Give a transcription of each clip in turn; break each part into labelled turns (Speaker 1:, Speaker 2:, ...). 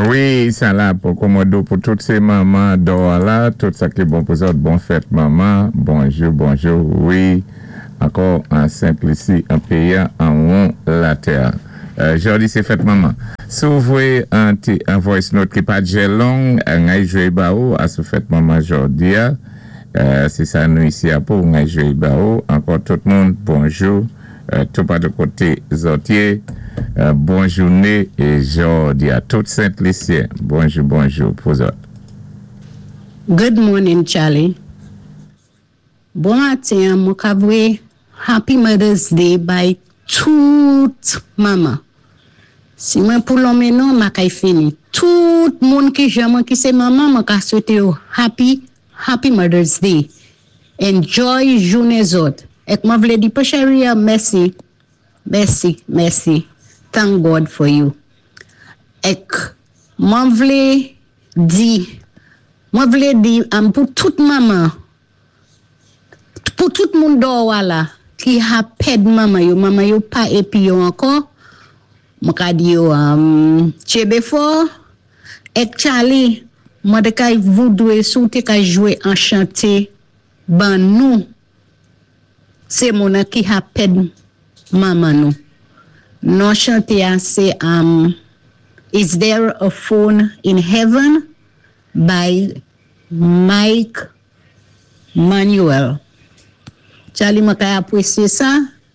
Speaker 1: Wi, sa la pou Komodo, pou tout sé manman dò la, tout sa ki bon pou zòt, bon fèt manman, bonjou, bonjou, wi, ankò an Sent Lisi, an péyi an won latè. Jòdi sé fèt manman. Si ou voyé an, an voice note ki pa djè long, ngay jwé ba ou, asou fèt manman jòdi a, sé sa nou isi a pou, ngay jwé ba ou. Ankò tout moun, bonjou, tout patou koté zòt yé, bon jouné é jòdi a. Tout Sent Lisyen, bonjou, bonjou pou zòt.
Speaker 2: Good morning, Charlie. Bon maten, mwen ka voyé Happy Mother's Day bay tout manman. Si mwen pou lonmen non, ma kay fini. Tout moun ki jan mwen ki sé manman, mwen ka swété yo happy, happy Mother's Day. Enjoy jounen zòt. Ek mwen vlé di Sharia, mèsi. Mèsi, mèsi. Thank God for you. Ek mwen vlé di pou tout manman, pou tout moun dò la ki ha pèd manman yo, manman yo pa épi yo ankò, mwen ka di yo tjenbé fò, ek Charlie, mwen té kay voudwé si ou té ka jwé an chanté ban nou, sé moun ki ha pèd manman nou. Non chanté a sé "Is There a Phone in Heaven" by Mike Manuel. Charlie, mwen ka apwésyé sa,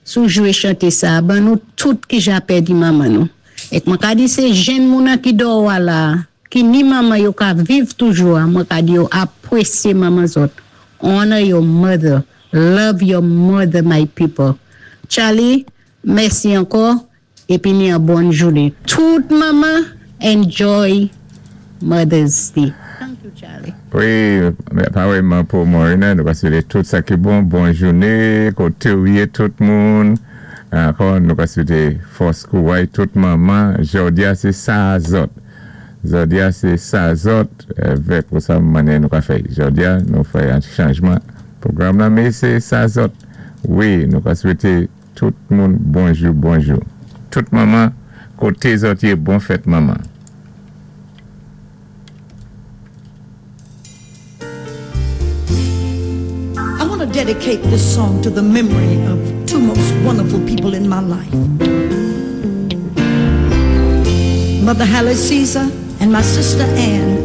Speaker 2: si ou jwé chanté sa, ban nou tout ki ja pèdi manman nou. Ek mwen ka di sé jenn moun ki dò la, ki ni manman yo ka viv toujou, mwen ka di yo apwésyé manman zòt. Honor your mother. Love your mother, my people. Charlie, mèsi ankò, épi ni an bon jounen. Tout manman, enjoy Mother's Day. Thank you, Charlie.
Speaker 1: Wi, parèyman pou Morena, nou ka swété tout sa ki bon, bon jouné, koté ou yé tout moun. Ankò, nou ka swété fòs kouway tout manman. Jòdi a sé sa zòt. Jòdi a sé sa zòt, vè pou sa mannyè nou ka fè. Jòdi a, nou fè an chanjman pwogram la, mé sé sa zòt. Wi, nou ka swété tout moun bonjou, bonjou. Tout manman, koté zòt yé, bon fèt manman.
Speaker 3: I want to dedicate this song to the memory of two most wonderful people in my life: Mother Hallie Caesar and my sister Ann.